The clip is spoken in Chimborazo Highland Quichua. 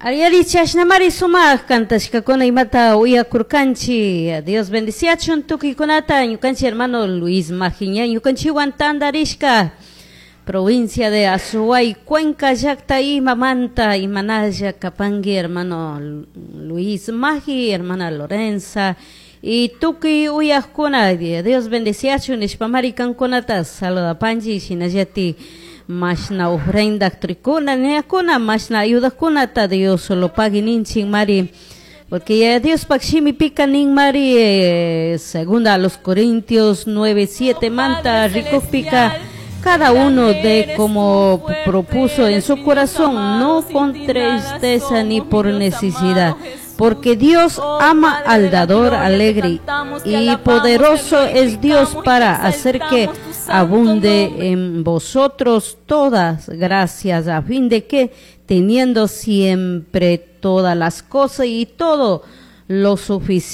Ariari chashnamari sumaq kantashkakuna imata uyakurkanchik. Dios bendiciachun tukuykunata ñukanchik hermano Luis Majiña ñukanchikwan tantarishka provincia de Azuay Cuenca llaqta imamanta imanalla kapanki hermano Luis Maji, hermana Lorenza y tukuy uyaqkuna. Dios bendiciachun nishpamari kankunata saludapanchik shinallatik mashna ofrenda trikuna niyakuna mashna ayudakunata Dios solo pagui ninchik mari, porque ya Diospaq shimipika nin mari, segunda a los Corintios 9:7 manta rikukpika, cada uno de como propuso en su corazón, no con tristeza ni por necesidad, porque Dios ama al dador alegre y poderoso es Dios para hacer que abunde en vosotros todas gracias, a fin de que teniendo siempre todas las cosas y todo lo suficiente.